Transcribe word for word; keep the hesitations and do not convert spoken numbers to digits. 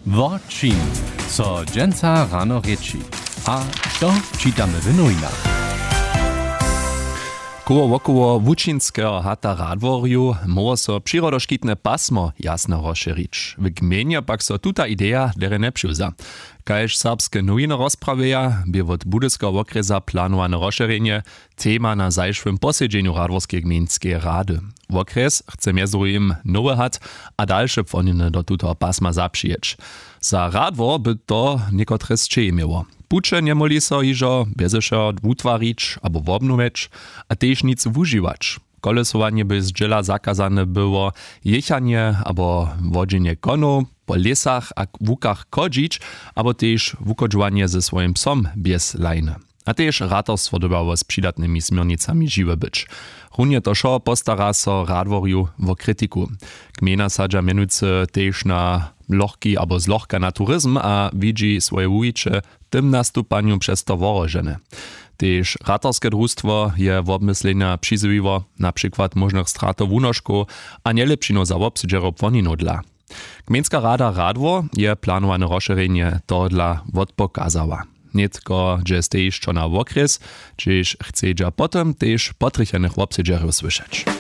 Wo čim so dźensa rano rěči a što čitamy w nowinach? Koło wokoło łučinskeho hata radworju móhło so přirodoškitne pasmo jasno rozšěrić, w gmejnje pak so tuta ideja derje njepřiwza. Kaž serbske nowiny rozprawjeja, bě wot budyskeho wokrjesa planowane rozšěrjenje tema na zašłym posedźenju radworskeje gmejnskeje rady. Wokrjes chce mjez druhim nowy hat a dalše płoniny do tutoho pasma zapřijeć. Za radwor by to někotre sćehi měło. Puće njemóhli so hižo bjeze wšeho wutwarić abo wobnowjeć, a tež nic wužiwać. Kolesowanje by zdźěla zakazane było, jěchanje abo wodźenje konow po lěsach a łukach chodźić, abo tež wuchodźowanje ze swojim psom bjez lajny, a tež ratarstwo dyrbjało z přidatnymi směrnicami žiwe być. Runje to wšo postara so radworju wo kritiku. Gmejna sadźa mjenujcy tež na lochki abo zlochka na turizm a widźi swoje wuwiće w tym nastupanju přez to wohrožene. Tež ratarske drustwo je wobmyslenja přizwiło, na přikład móžnych stratow wunoškow a njelěpšinow za wobsedźerjow płoninow dla. Gmejnska rada radwor je planowane rozšěrjenje tohodla wotpokazała. Nětko dźe stej hišćo na wokrjes, hdźež chcedźa potom tež potrjechenych wobsedźerjow słyšeć.